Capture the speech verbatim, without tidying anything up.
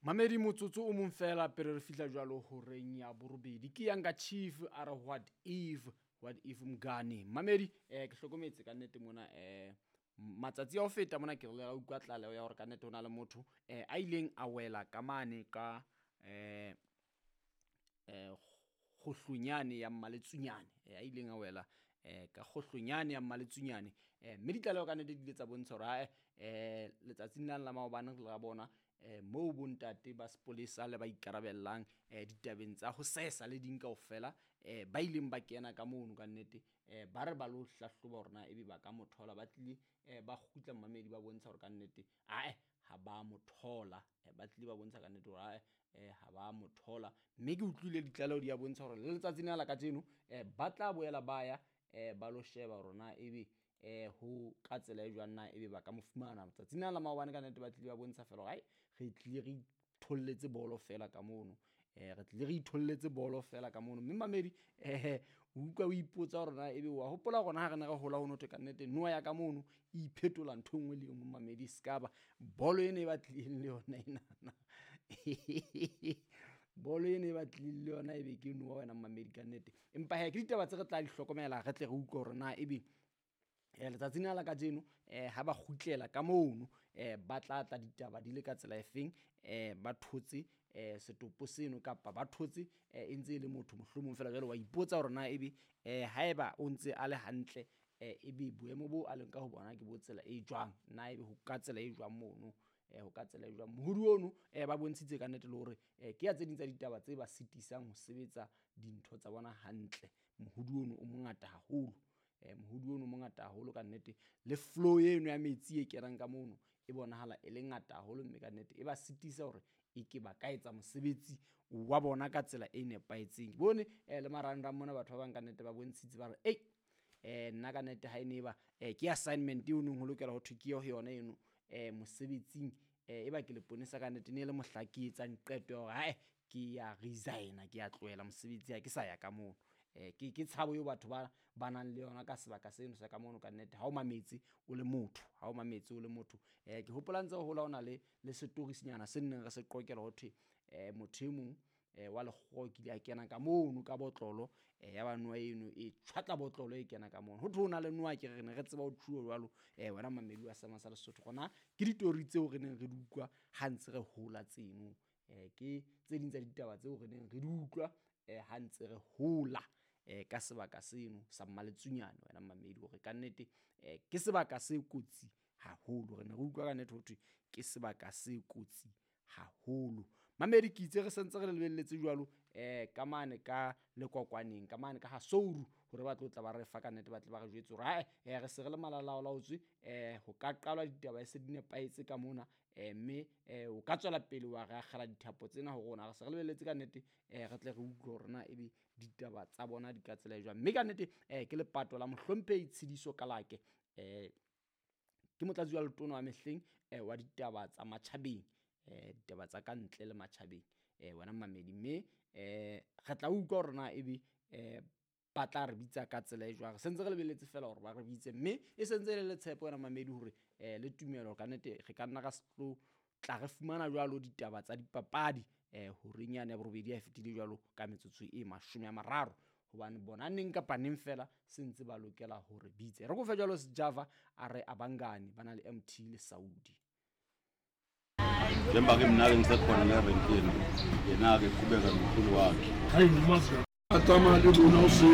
Mamedi, motsotso o mong fela pele re fihla jwalo horeng ya borobedi. Ke Younger Chief a re "What If", what if mngani. Mamedi, eh ke hlokometse ka nnete mona, eh matsatsi a ho feta mona ke re ra utlwa tlaleho ya hore ka nnete ho na le motho eh a ileng a wela ka mane ka eh eh kgohlonyane ya Mmaletsunyane, eh a ileng a wela eh ka kgohlonyane ya Mmaletsunyane. eh mme ditlaleho ka nnete di ile tsa bontsha hore ae, eh letsatsing lane la maobane re la bona eh moo bontate ba sepolesa le ba ikarabellang eh ditabeng tsa ho sesa le ding kaofela, eh ba ileng ba kena ka mono ka nnete, eh ba re ba lo hlahloba hore na ebe ba ka mo thola. Ba tlile eh ba kgutla, mmamedi, ba bontsha hore ka nnete ae, ha ba mo thola. Ba tlile ba bontsha ka nnete hore ae, eh ha ba mo thola. Mme ke utlwile ditlaleho di ya bontsha hore le letsatsing lena la kajeno eh ba tla boela ba ya eh ba lo sheba hore na ebe eh ho ka tsela e jwang, na ebe ba ka mo fumana. Tsatsing lena la maobane ka nnete ba tlile ba bontsha fela hore ai, re tlile re itholletse bolo fela ka mono, eh re tlile re itholletse bolo fela ka mono. Mme mamedi, eh o utlwa o ipotsa hore na ebe wa hopola rona ha re ne re hola ho no thwe ka nnete noha ya ka mono e iphetola ntho e nngwe le e nngwe. Mamedi, se ka ba bolo ena e ba tlileng le yona enana, bolo ena e ba tlileng le yona ebe ke noha wena mamedi ka nnete. Empa he, ke ditaba tse re tla di hlokomela, re tle re utlwe hore na ebe eh letsatsing lena la kajeno eh ha ba kgutlela ka mono eh ba tla tla ditaba di le ka tsela e feng, eh ba thotse eh setopo seno kapa ba thotse eh e ntse e le motho mohlomong fela. Jwale wa ipotsa hore na ebe eh haeba o ntse a le hantle, eh ebe boemo bo a leng ka ho bona ke bo tsela e jwang, na ebe ho ka tsela e jwang mono, eh ho ka tsela e jwang mohodu ono. eh ba bontshitse ka nnete le hore eh ke ya tse ding tsa ditaba tse ba sitisang ho sebetsa dintho tsa bona hantle. Mohodu ono o mongata haholo, eh mohodu ono o mongata haholo ka nnete, le flow eno ya metsi e kenang ka mono e bonahala e le ngata haholo, mme ka nnete e ba sitisa hore e ke ba ka etsa mosebetsi wa bona ka tsela e nepahetseng. Ke bone eh le marangrang mona batho ba bang ka nnete ba bontshitse ba re ei, eh nna ka nnete ha e ne ba eh ke assignment eo neng ho lokela ho thwe ke yo yona eno eh mosebetsing, eh e ba ke leponesa ka nnete, ne le mohla ke etsang qeto ya hore hae, ke ya resigna, ke ya tlohela mosebetsi, ha ke sa ya ka mono. eh ke ke tshabo eo batho ba ba nang le yona ka sebaka seno sa ka mono ka nnete. Ha o mametse o le motho, ha o mametse o le motho, eh ke hopola ntse re hola ho na le le setorisinyana se nneng re se qoqela ho thwe eh motho e mong eh wa lekgowa o kile a kena ka mono ka botlolo, eh ya ba noha eno e tjhwatla botlolo e kena ka mono, ho thwe ho na le noha. Ke re ne re tseba ho thuo jwalo, eh wena mamedi wa Seema sa Lesotho, rona ke ditori tseo re neng re di utlwa ha ntse re hola tseno. eh ke tse ding tsa ditaba tseo re neng re di utlwa eh ha ntse re hola eh ka sebaka seno sa Mmaletsunyane wena mamedi, hore ka nnete eh ke sebaka se kotsi haholo. Re ne re utlwa ka nnete ho thwe ke sebaka se kotsi haholo. Mamedi, ke itse re sentse re lebelletse jwalo eh ka mane ka lekwakwaneng, ka mane ka ha Souru, hore ba tlo tla ba re fa ka nnete, ba tle ba re jwetse hore hae, eh re se re le malalalaotswe, eh ho ka qalwa ditaba e se di nepahetse ka mona, eh mme eh o ka tswela pele wa re akgela dithapo tsena ho rona. Re se re lebelletse ka nnete eh re tle re utlwe hore na ebe ditaba tsa bona di ka tsela e jwang. Mme ka nnete eh ke lepato la mohlomphehi Tshidiso Kalake, eh ke motlatsi wa letona wa mehleng eh wa ditaba tsa matjhabeng, eh ditaba tsa ka ntle le matjhabeng, eh wena mamedi. Mme eh re tla utlwa hore na ebe eh ba tla re bitsa ka tsela e jwang. Re sentse re lebelletse fela hore ba re bitse, mme e sentse e le letshepo wena mamedi hore eh le tumelo ka nnete re ka nna ra se tlo tla re fumana jwalo ditaba tsa dipapadi eh horeng yane ya borobedi ha e fetile jwalo ka metsotso e mashome a mararo, hobane bona neng kapa neng fela se ntse ba lokela hore bitse. Re kofe jwalo Sjava a re abangani ba na le M T le Saudi. Njengoba-ke mina-ke ngisekhona la erenkini, yena-ke qhubeka nomkhulu wakhe. Hayi, ngimazi. A tsamaya le lona o se